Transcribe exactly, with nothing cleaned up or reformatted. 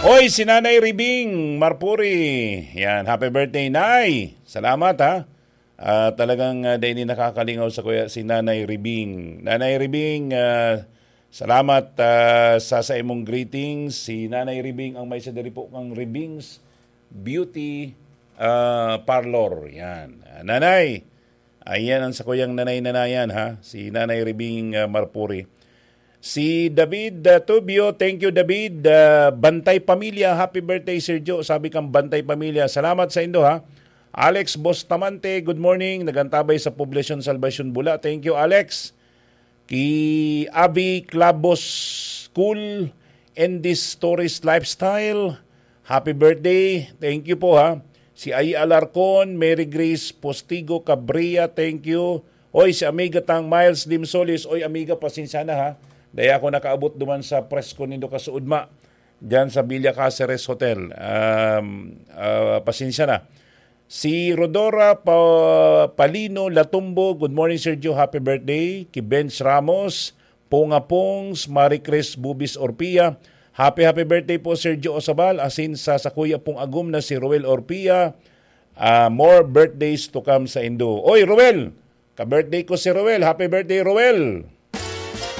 Oy, si Nanay Ribing Marpuri. Yan, happy birthday, Nay. Salamat, ha. Ah, talagang, ah, dai ni nakakalingaw sa kuya si Nanay Ribing. Nanay Ribing, ah, salamat, ah, sa, sa imong greetings. Si Nanay Ribing ang may sa diri po kang Ribing's Beauty, ah, Parlor. Yan. Ah, Nanay, ayan ang sakuyang nanay-nanayan, ha. Si Nanay Ribing, ah, Marpuri. Si David, ah, Tubio, thank you, David. Ah, Bantay Pamilya, happy birthday, Sir Joe. Sabi kang Bantay Pamilya, salamat sa indo, ha. Alex Bustamante, good morning. Nagantabay sa Poblacion Salvacion, Bula. Thank you, Alex. Ki Avi Clabos School and this Stories Lifestyle, happy birthday. Thank you po, ha. Si Ai Alarcon, Mary Grace Postigo Cabria, thank you. Oy, si amiga tang Miles Limsolis. Oy, amiga, pasensya na, ha. Dai ako nakaabot duman sa presko nindo kasuodma, diyan sa Villa Caceres Hotel. Um, ah, pasensya na. Si Rodora Pa-, Palino Latumbo, good morning, Sergio. Happy birthday. Ki Benz Ramos, Punga Pungs, Marie Chris Bubis Orpia. Happy, happy birthday po, Sergio Osabal. Asin sa sakuya pong agom na si Roel Orpia. Ah, more birthdays to come sa indo. Oy, Roel! Ka-birthday ko si Roel. Happy birthday, Roel!